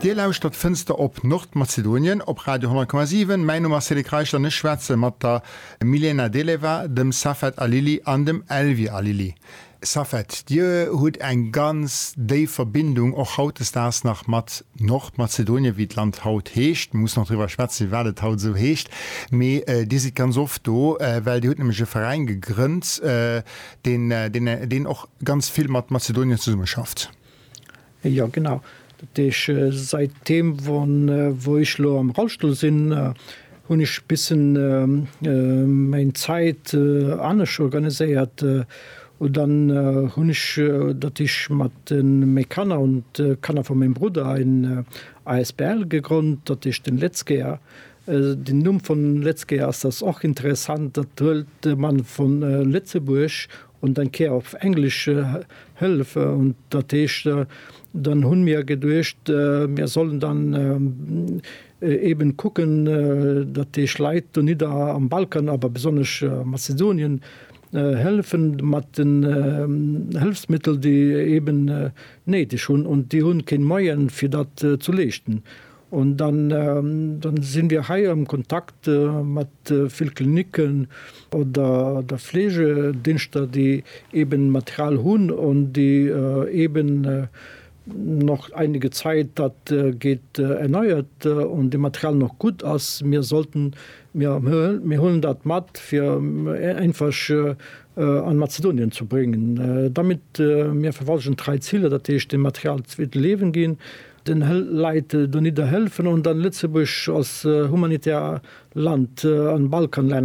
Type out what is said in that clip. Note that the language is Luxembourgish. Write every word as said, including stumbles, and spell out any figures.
Dir lauschtert Fënster op Nordmazedonien op Radio honnert Komma siwen. Mäin Numm ass Cédric Reichel an ech schwätze mat der Milena Deleva, dem Safet Alili an dem Elvi Alili. Safet, Dir hutt eng ganz déif Verbindung och hautdesdaags nach mat Nordmazedonien, wéi d'Land haut heescht. Mir mussen nach driwwer schwätzen, firwat et haut esou heescht. Mee Dir sidd ganz oft do, well Dir hutt nämlech e Veräin gegrënnt, deen, deen, deen och ganz vill mat Mazedonien zesummeschafft. Jo, genau. Dat heesch, säitdeem wou ech lo am Rollstull sinn, hunn ech bissen meng Zäit anescht organiséiert. Und dann hunn ech, dat heesch mat meng Kanner und d'Kanner vu mengem Brudder en A S B L gegrënnt, dat heescht den Lëtzebuerger. Den Numm vun Lëtzebuerger ass das och interessant, dat huelt man vun Lëtzebuerg und dann Kéier op Englesch Hëllef. Und dat heescht, dann hunn mir geduecht, mir sollen dann eben kucken, dat heescht Leit donidder am Balkan, awer besonnesch Mazedonien hëllefen mat den Hëllefsmëttel, déi eben néideg hunn, und déi hunn keen Moyen fir dat zu leeschten. Und dann dann sinn wir hei am Kontakt mat vill Kliniken oder der Fleegedingschter, déi eben Material hunn und déi eben noch einige Zeit dat geht erneuert und de Material noch gut ass. Mir sollten mir mir huelen dat mat fir einfach an Mazedonien zu bringen. Damit mir verfolgen drei Ziele, dat heescht dem Material zweete Liewen ginn, den Leit donidder helfen und dann Lëtzebuerg als humanitär Land an Balkanlänner